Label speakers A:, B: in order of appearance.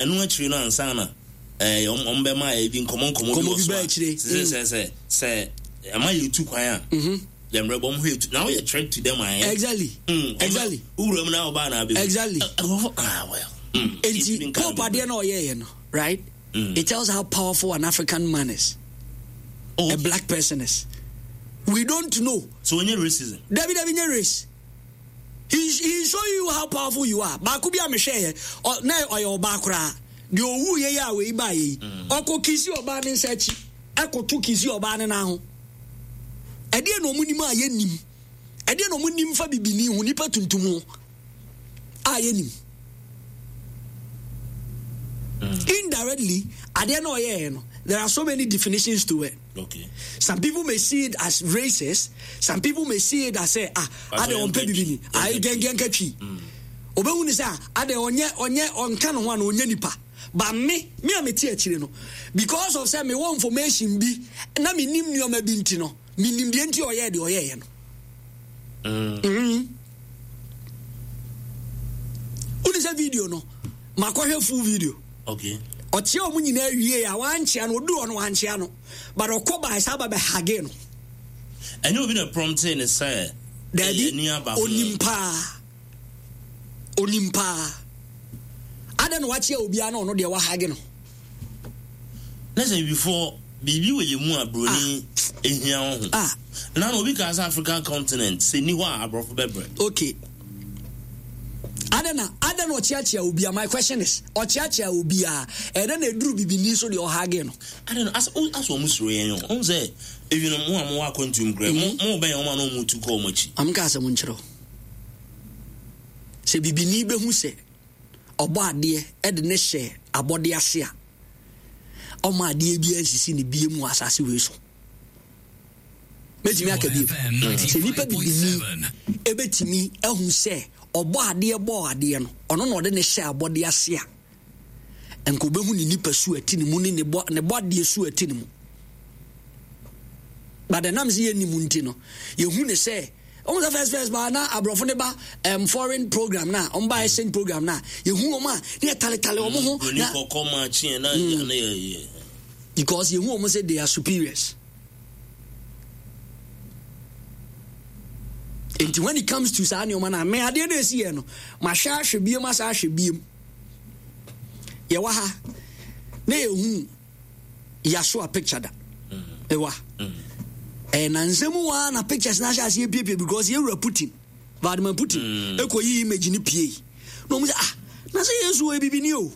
A: Ɛno akyiri no ansa na ɛɛ wɔn wɔn bɛma ebi nkɔmɔ nkɔmɔ bi wɔ so a sɛ sɛ sɛ sɛ ɛma yɛ tu kwan a mhm. yɛ mmerɛ bɔ mo hɔ etu na woyɛ threat to them ayɛ.
B: Exactly. Mm, exactly.
A: Wura mu na ɔbaa na abɛhu.
B: Exactly.
A: Nkurɔfo ah well.
B: Mm, Eti Pope adeɛ na ɔyɛ yɛ no right. Mm. It tells how powerful an African man is. Oh, okay. A black person is. We don't know.
A: So onye racism.
B: Dabi dabi nye race. He he show you how powerful you are. Baako bi a mehwɛ yɛ, ɔ na ɔyɛ ɔbaa koraa. Deɛ owu yɛ yɛ a wei baa yɛ yi. Mm. Ɔkɔ kisi ɔbaa ne nsa akyi, ɛkɔto kisi ɔbaa ne nan ho. Ɛdeɛ na wɔn nim a yɛnnim. Ɛdeɛ na wɔn nim fa bibini ho, nipa tuntum ho a yɛnim. Mm. Indirectly, adeɛ na ɔyɛɛ no, there are so many definitions to it.
A: Okay.
B: Some people may see it as racist. Some people may see it as say ah, ade ɔmpɛ bibi ni. Ayi gɛngɛn ka twi. Obehu ni sɛ ah, ade ɔnyɛ ɔnyɛ ɔnka ne ho ana ɔnyɛ nipa. But me, me a mete akyire no, because of sɛ mewɔ information bi na menim nneɛma bi nti no, menim deɛ nti ɔyɛɛ deɛ ɔyɛɛyɛ no. Mm. Wone sɛ video no, makɔhwɛ full video.
A: Okay.
B: Ɔkyea wɔn nyinaa wie a wankyea no, ɔduru hɔ no wankyea no. But ɔkɔ bae saa ba bɛ hage no.
A: Ɛnyɛ obi na promptee ne sɛ.
B: Dabi, onim paa. Onim paa. Adɛn na wakyea obiara na ɔno deɛ wahage no?
A: Na sɛ bibifoɔ biribi wɔ yɛn mu a buroni ah. ehia wɔ ho. Ah. Na na obi kaa sɛ African continent sɛ ni hɔ a aborɔfo bɛbrɛ.
B: Okay. Adɛn na adɛn na ɔkyeakyea obiara? My question is ɔkyeakyea obiara ɛdɛn na eduru bibini so deɛ ɔhage no?
A: Adɛn na asɛ asɛ wɔn suro yɛn o. Wɔn sɛ ebinom mo a mo wɔ akwantu mu kura mo mo bɛn wɔn a na wɔn tu kɔ wɔn akyi.
B: Am ka asɛm nkyerɛ wo. Sɛ bibini bɛhu sɛ ɔbɔ adeɛ ɛde ne hyɛ abɔde ase a ɔma adeɛ biara nsisi ne bie mu wɔ asase wei so. Mɛtumi aka bio sɛ nipa bibini ɛbɛtumi ahu sɛ ɔbɔ adeɛ bɔɔ adeɛ no ɔno na ɔde ne hyɛ abɔde ase a nka ɔbɛhu ne nipa su ɛte ne mu ne ne bɔ adeɛ su ɛte ne mu. But ɛnam sɛ yɛnni mu nti no yɛhu ne sɛ wɔn sɛ first first baa na aborɔfo ne ba um, foreign program na wɔn ba exchange program na yɛhu wɔn a ne yɛ taletale wɔn ho
A: na kɔkɔ maa kyeɛ na yɛ
B: because yɛhu wɔn sɛ they are superiors. Nti when it comes to saa nneɛma no a me adeɛ no ɛsi yɛ no mahwɛ ahwɛ biem asa ahwɛ biem yɛwɔ ha na yɛhu Yasua picture da ɛwa ɛyɛ nansa mu waa na pictures na ahyɛ aseɛ piepie because yɛwura Putin Vladimir Putin ɛkɔ yi image no pie na ɔmu sɛ ah na sɛ Yesu ɔyɛ bibini o.